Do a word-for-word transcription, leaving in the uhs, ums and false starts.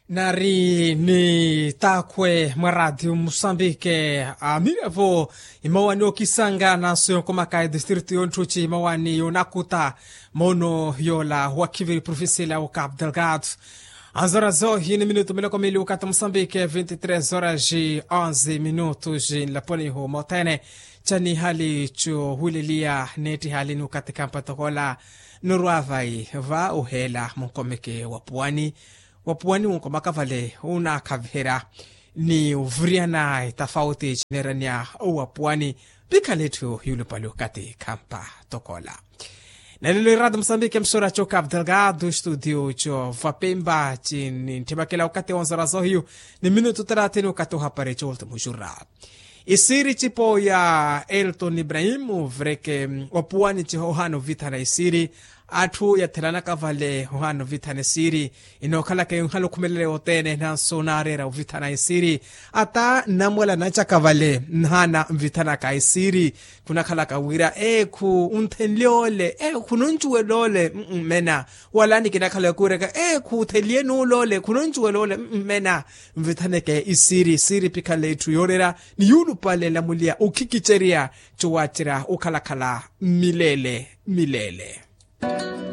Nari ni takhwe mwa ratio musambike, amirevo imawani okisanga naso yonkomaka edistritu yonthuci imawani yonakuta, mono yola wakhiviri profisila wo cap delgado. Anzora zohi ni minutu miloko mili ukati musambike vinti tres horas ji onze minutu ji nlaponiho mothene. Chani hali cho hulelia neti hali ni ukati kampa tokola. Norwa vai va uhela munkomeke wapuwani. Wapuwani wunkomaka vale unakhaviherya ni uvuriyana etafauti chineranya owapuwani. Pikhala etthu yulupale okati kampa tokola. Nalelo irata musambike msora cho cap delgado studio cho vapemba chini nthimakela okati wonzora zohiyu ni minutu taratini okati ohapare cho ultimo jura. Isiri cipo ya elton ibrahimu vreke, opuwani ciho ohana ovithana isiri. Atthu yathelanaka vale ohana ovithana isiri. Inookhalaka yonhala okhumelela yothene nanso naareera ovithana isiri. Ata nnamwala nacaka vale nhana nvithanaka isiri. Khunakhalaka wira ekhu unthenlye ole, ekhu khununcuwela ole mmena. Wala nikinakhala yokuuraka ekhu uthenlye nuula ole khununcuwela ole mmena. Nvithaneke isiri isiri pikhala etthu yooreera ni yuulupale nlamuliya okhikicerya. Cowacerya okhalakhala mmilele mmilele.